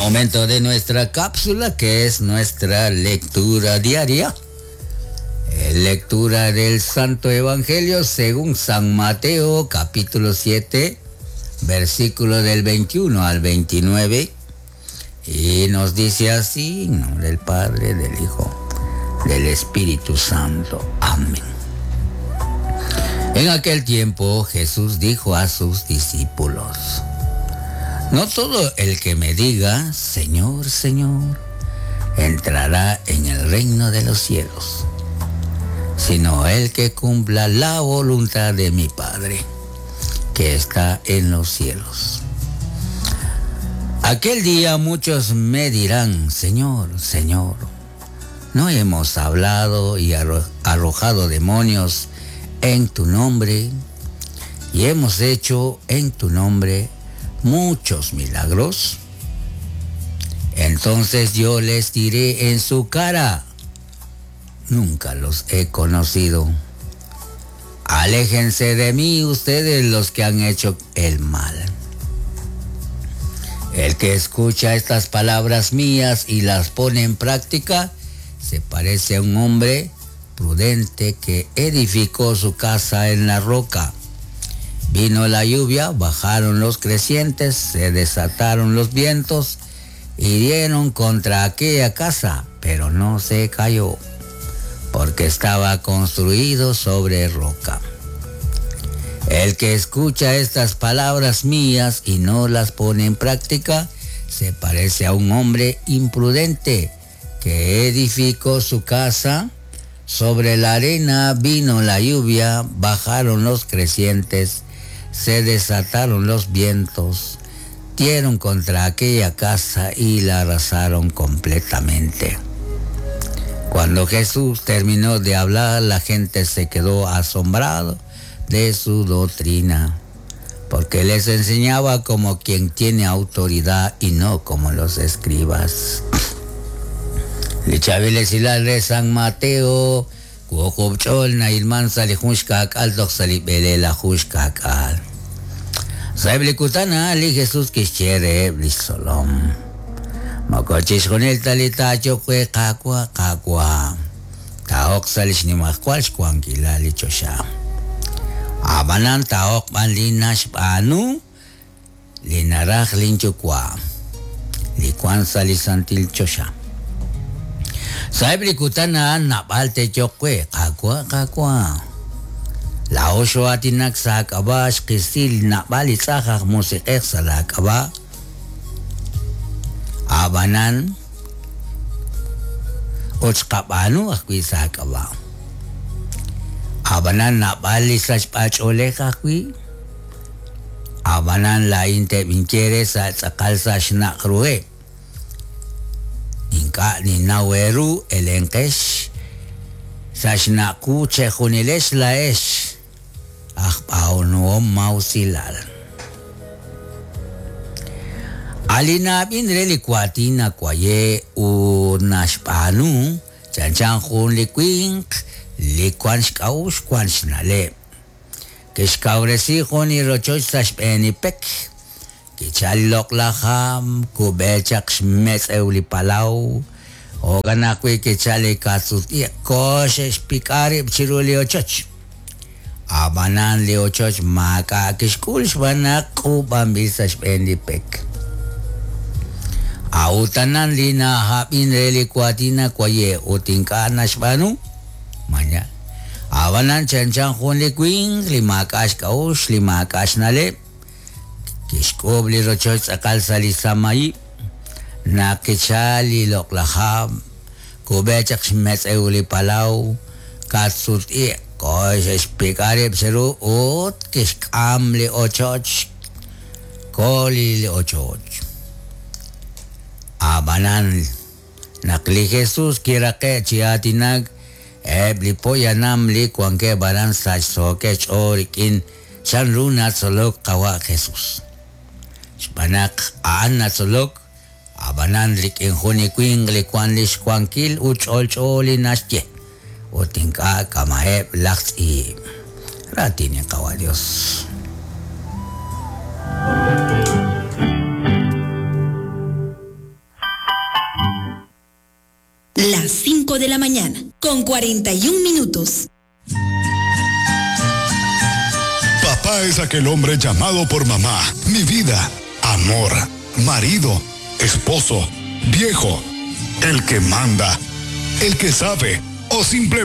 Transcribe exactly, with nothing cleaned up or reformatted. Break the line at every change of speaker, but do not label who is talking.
Momento de nuestra cápsula, que es nuestra lectura diaria. Lectura del Santo Evangelio según San Mateo, capítulo siete, versículo del veintiuno al veintinueve. Y nos dice así, en nombre del Padre, del Hijo, del Espíritu Santo. Amén. En aquel tiempo Jesús dijo a sus discípulos: No todo el que me diga, Señor, Señor, entrará en el reino de los cielos, sino el que cumpla la voluntad de mi Padre, que está en los cielos. Aquel día muchos me dirán, Señor, Señor, ¿no hemos hablado y arrojado demonios en tu nombre? Y hemos hecho en tu nombre muchos milagros. Entonces yo les diré en su cara, nunca los he conocido. Aléjense de mí ustedes los que han hecho el mal. El que escucha estas palabras mías y las pone en práctica, se parece a un hombre prudente que edificó su casa en la roca. Vino la lluvia, bajaron los crecientes, se desataron los vientos y dieron contra aquella casa, pero no se cayó, porque estaba construido sobre roca. El que escucha estas palabras mías y no las pone en práctica, se parece a un hombre imprudente que edificó su casa sobre la arena. Vino la lluvia, bajaron los crecientes, se desataron los vientos, dieron contra aquella casa y la arrasaron completamente. Cuando Jesús terminó de hablar, la gente se quedó asombrado de su doctrina, porque les enseñaba como quien tiene autoridad y no como los escribas. Lichabiles San Mateo, Kuokobchol na ilman salihunshkak al salibele hushkak al. Saiblikutana li Jesús kishere blisolom. Makochishonel talita chokwe kakwa kakwa. Taok salishnimakwal shkwankila lichosha. Abanan taok man linashpanu linaraj linchukwa. Likwan salisantil chosha. Saiblikutana nabalte chokwe kakwa kakwa. La osho atinak sa kaba xkisil nabali tzajaj musiqej sa la kaba. Abanan ochqabanu ajwi sa kaba. Abanan nabali sachpacholej ajwi. Abanan la inte vinchere sa tzakal sa xnaqrue. Inka ni naweru elenkesh sa xnaqu chejunilesh laesh. Ajpaunuom mausilal. Alinabin relikuatina kwaye unashpanu chanchan jun likwink likuan xkaush kuan xnale. Kixkauresi jun irochoch saxpenipek. Kichalok lajam kubechak xmetz eulipalau. Oganakwi kichali katsuti koshe xpikarib chiruli ochoch. Abanan li ochoch maka kixkul xbanak kubambil saxpenipek. Autanan lina hapin relikuatina kwaye utinka nashbanu manya. Abanan chanchan jun likwin limakash kaush limakash nale. Kixkub li rochoch akal salisamayi. Nakichali loklaham. Kubechak xmetz euli palau. Katsut i kosh espikarib seru ut kixkam li ochoch. Koli li ochoch. Abanan nakli Jesús kirake chiatinag ebli poyanam li kuanke baran sach sokech orikin chanruna solok kawa Jesús. Xpanak aan natsolok abanan lik injuni kwing li kuan lix kuankil uch olch oli naxye utinka kamaeb laxi ratini kawa Dios.
Las cinco de la mañana, con cuarenta y un minutos.
Papá es aquel hombre llamado por mamá, mi vida, amor, marido, esposo, viejo, el que manda, el que sabe o simplemente